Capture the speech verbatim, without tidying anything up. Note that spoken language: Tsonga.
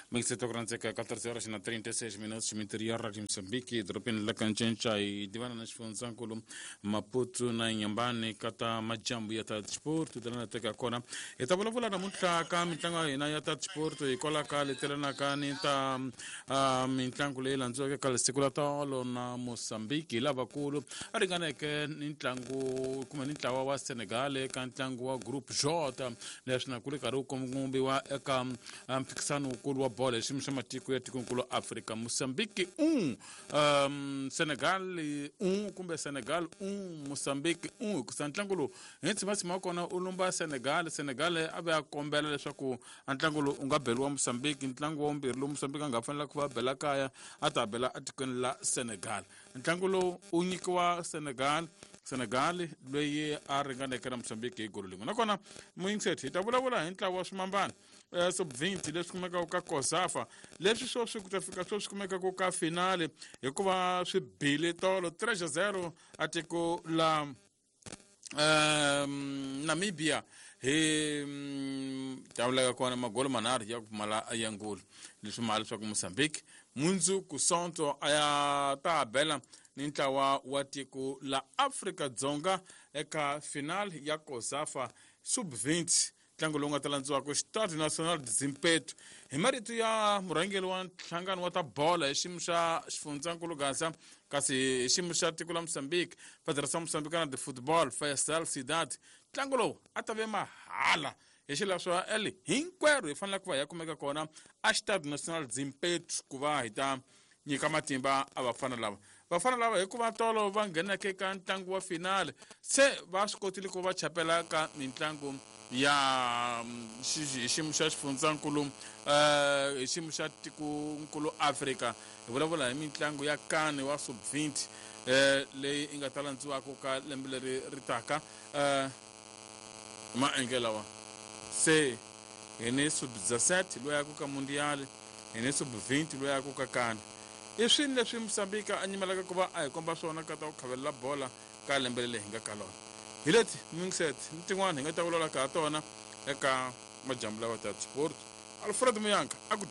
Mixeto kuranzeka catorze horas na trinta e seis minutos no interior de Moçambique, dropini la Kancencha e divana na Chifunzankulu, Maputo na Inhambane, kata majambu ya ta desporto, dana teka kona. E ta vulavula namuntlha ka mitlangu ya hina ya ta desporto hikwalaho ka letelana ka ni ta uh, mitlangu leyi landziweke ka siku la tolo na Mozambique lavakulu a ringaneke ni ntlangu kumbe ni ntlawa wa Senegal eka ntlangu wa Group J leswi na ku ri karhi wu kombiwa eka mphikisano wukulu wa bolo hi xiyimo xa matiko ya tikonkulu Afrika. Mozambique un um, Senegal un kumbe Senegal un Mozambique un hikusa ntlangu lowu hi ntshima wa kona u lumba Senegal. Senegal a ve a kombela leswaku a ntlangu lowu u nga beriwa Mozambique. Ntlangu wa vumbirhi lowu Mozambique a nga fanela ku va bela kaya a ta bela etikweni la Senegal. Ntlangu lowu u nyikiwa Senegal, Senegal loyi a ringaneke na Mozambique hi golo lin'we. Nakona muyingiseti hi ta vulavula hi ntlawa wa swimambana eh, sub twenty leswi kumekaka ka COSAFA leswi sweswi ku ta fika sweswi kumekaka ka finale hikuva swi bile tolo three zero a tiko la um, Namibia hi tavulaka kona magolo manharhu ya ku pfumala ya ngulu leswi mali leswaku Mozambique mundzuku Sonto a ya ta bela ni ntlawa wa tiko la Afrika Dzonga eka final ya COSAFA sub twenty ntlangu lowu nga ta landziwaka Stade National de Zimpeto. Hi marito ya murhangeri wa nhlangano wa ta bola hi xiyimo xa xifundzankulu Gaza kasi hi xiyimo xa tiko la Mozambique, Federação Moçambicana de Football Faisal Sidat, ntlangu lowu a ta ve mahala hi xileswo eli hinkwerhu hi fanele ku va hi ya kumeka kona a Stade National Zimpeto ku va hi ta nyika matimba a vafana lava. Vafana lava hikuva tolo va ngheneke ka ntlangu wa finale se va swi kotile ku va chapela ka mitlangu ya hi xiyimo xa xifundzankulu eh hi xiyimo xa tikonkulu Afrika. Hi vulavula hi mitlangu ya kane wa sub twenty eh leyi yi nga ta landziwaka ka lembe leri ri taka eh maenge lawa se hi ni sub dezessete loyi ya ku ka mundial, hi ni sub twenty loyi ya ku ka kane. I swini leswi Mozambique a nyimelaka ku va a hi komba swona ka ta ku khavelela bola ka lembe leri hi nga ka lona. Hi leti mixet ni tin'wana hi nga ta vulavula ka ha tona eka majambu lawa ta sport. Alfred Muyanka a ku